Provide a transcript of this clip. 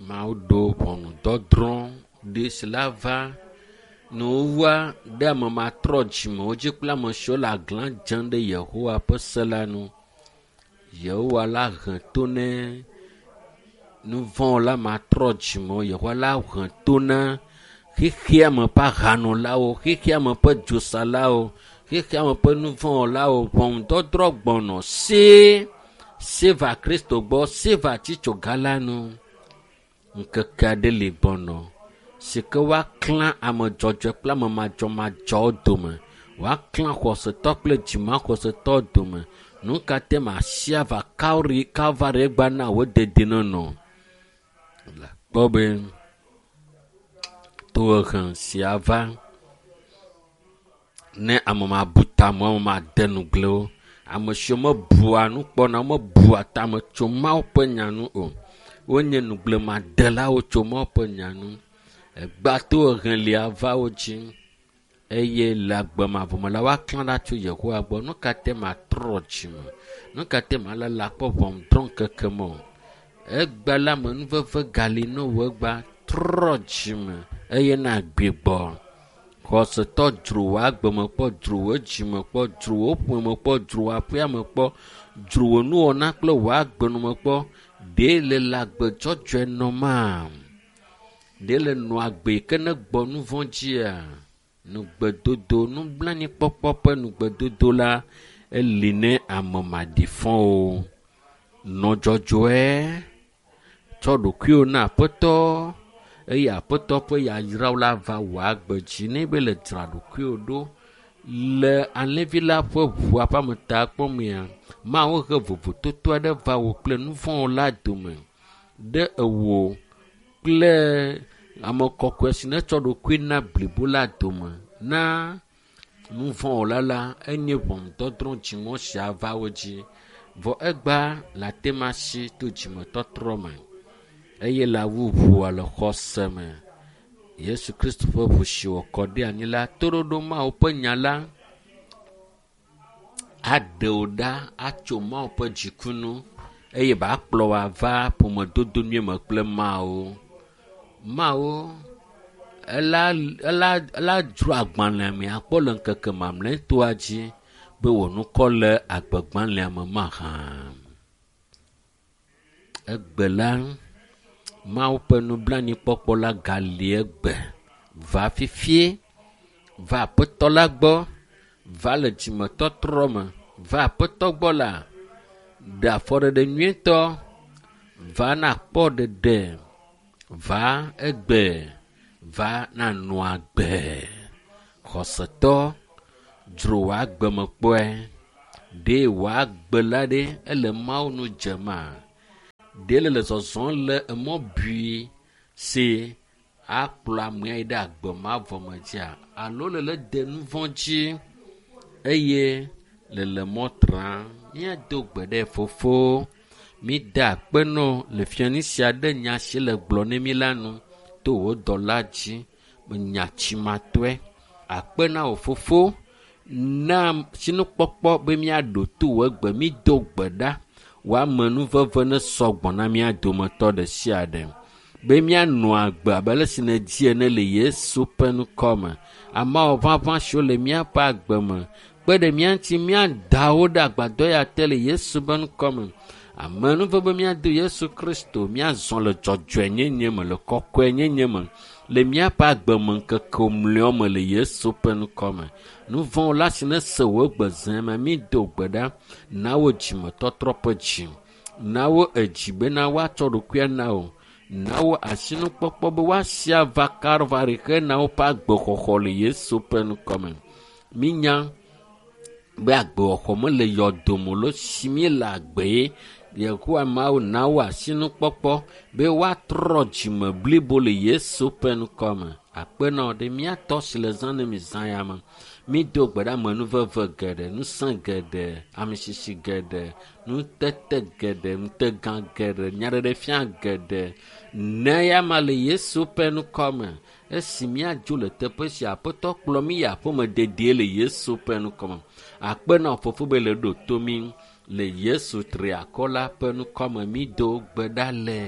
Mawu ɖo ʋɔnudɔdrɔ̃ ɖi si la va nuwuwua ɖe ame matrɔ dzimewo dzi kple ame siwo le aglã dzem ɖe Yehowa ƒe se la nu. Yehowa la he to ne nuvɔ̃wɔla matrɔ dzimewo. Yehowa la he to na xexea me ƒe ahanolawo, xexea me ƒe dzosalawo, xexea me ƒe nuvɔ̃wɔlawo. Ʋɔnudɔdrɔ̃ gbɔnɔ see seva Kristo gbɔ, seva tsitsoga la nu. Ŋkeke aɖe li gbɔnɔ si ke woaklã ame dzɔdzɔe kple ame madzɔmadzɔwo dome. Woaklã xɔsetɔ kple dzimaxɔsetɔ dome. Nu ka te masi ava Kalri Kalvari gba na wo dedinɔnɔ? Le kpɔ be tohehe sia va ne ame mabu tame, ame made nugblẽwo, ame siwo mebua nu kpɔna, mebua tame tso Mawu ƒe nya nu o. Wonye nugblẽmadelawo tso Mawu ƒe nya nu. Egba tohehe lia va wo dzi eye le agbe mavɔ me la woaklã ɖa tso Yehowa gbɔ. Nu ka te matrɔ dzime? Nu ka te malala akpɔ ʋɔnudrɔ̃ŋkeke me o? Egba la me nuveve gali ne wò egba trɔ dzime eye nagbigbɔ. Xɔsetɔ dzro wò agbe me kpɔ, dzro wò dzime kpɔ, dzro wò ƒome kpɔ, dzro wò aƒea me kpɔ, dzro wò nuwɔna kple wò agbenɔme kpɔ. Ɖe le le agbe dzɔdzɔe nɔmaa? Ɖe le nɔ agbe yi ke ne gbɔ nu vɔ̃ dzia? Nugbedodo, nublanuikpɔkpɔ ƒe nugbedodo la eli ne ame maɖifɔwo. Nɔ dzɔdzɔe, tsɔ ɖokuiwò na Aƒetɔ eye Aƒetɔ ƒe yayrawo la va wò agbe dzi ne be le dzra ɖokuiwò ɖo le alẽvi la ƒe ʋua ƒe ametakpɔmea. Mawu he vovototo aɖe va wò kple nuvɔ̃wɔla dome ɖe ewò kple ame kɔkɔe si netsɔ ɖokui na blibo la dome na nuvɔ̃wɔla la enye ʋɔnudɔdrɔ̃ dziŋɔ sia va wo dzi. Vɔ egba le ate ma si to dzimetɔtrɔ me eye le awu ʋua le xɔse me. Yesu Kristo ƒe ʋu si wòkɔ ɖe anyi la toɖoɖo Mawu ƒe nya la aɖe wò ɖa atso Mawu ƒe dziku nu eye ba kplɔ wò ava ƒomedodo nyui me kple Mawu. Mawu ela ela ela dzro agbalẽ me akpɔ le ŋkeke mamlɛtɔa dzi be wò ŋkɔ le agbegbalẽa me mahã. Egbe la, Mawu ƒe nublanuikpɔkpɔ la gali egbe. Va fifie, va Aƒetɔ la gbɔ, va le dzimetɔtrɔ me, va Aƒetɔ gbɔ la, ɖe afɔɖeɖe nyuietɔ, va nakpɔ ɖeɖe, va egbe, va nanɔ agbe. Xɔsetɔ, dzro wò agbe me kpɔe. Ɖe wò agbe la ɖe ele Mawu nu dzema? Ɖe le le zɔzɔm le emɔ bui si akplɔ amea yi ɖe agbe mavɔ me dzia? Alo le le de nu vɔ̃ dzi eye le le mɔ tram? Míado gbe ɖe fofo. Mída akpe nɔ le fiani sia ɖe nya si le gblɔ ne mí la nu to wò dɔla dzi. Nya tsimatɔe. Akpe na wò fofo na sinukpɔkpɔ be míaɖo to wò egbe. Mído gbe ɖa. Wò amenuveve ne sɔgbɔ na mía dometɔ ɖe sia ɖe. Be míanɔ agbe abe ale si nèdi ene le Yesu ƒe ŋkɔ me. Ameawo ʋaʋã siwo le míaƒe agbe me kpe ɖe mía ŋuti míada wo ɖe agbadɔ ya te le Yesu ƒe ŋkɔ me. Amenuveve be míado Yesu Kristo míazɔ le dzɔdzɔenyenye me le kɔkɔenyenye me le míaƒe agbe me ŋkeke mlɔewo me le Yesu ƒe ŋkɔ me. Nuvɔ̃wɔla si nese wò egbe zẽ me mído gbe ɖa na wo dzimetɔtrɔ ƒe dzi. Na wo edzi bena woatsɔ ɖokuia na wò. Na wo asinukpɔkpɔ be woasi ava Kalvari hena woƒe agbexɔxɔ le Yesu ƒe ŋkɔ me. Mínya be agbexɔxɔ mele yɔdome o lo si míele agbe ye. Yehowa Mawu na wo asinukpɔkpɔ be woatrɔ dzime blibo le Yesu ƒe ŋkɔ me. Akpe na wò ɖe mía tɔ si le zã ne mi zã ya me. Mído gbe ɖe amenuveve geɖe, ŋusẽ geɖe, amisisi geɖe, nutete geɖe, ŋutegã geɖe, nyaɖeɖefia geɖe. Ne ya ma le Yesu ƒe ŋkɔ me. Esi míadzo le teƒe sia, Aƒetɔ kplɔ mí yi aƒeme dedie le Yesu ƒe ŋkɔ me. Akpe na wò fofo be le ɖo to mí le Yesu triakɔ la ƒe ŋkɔ me mído gbe ɖa le.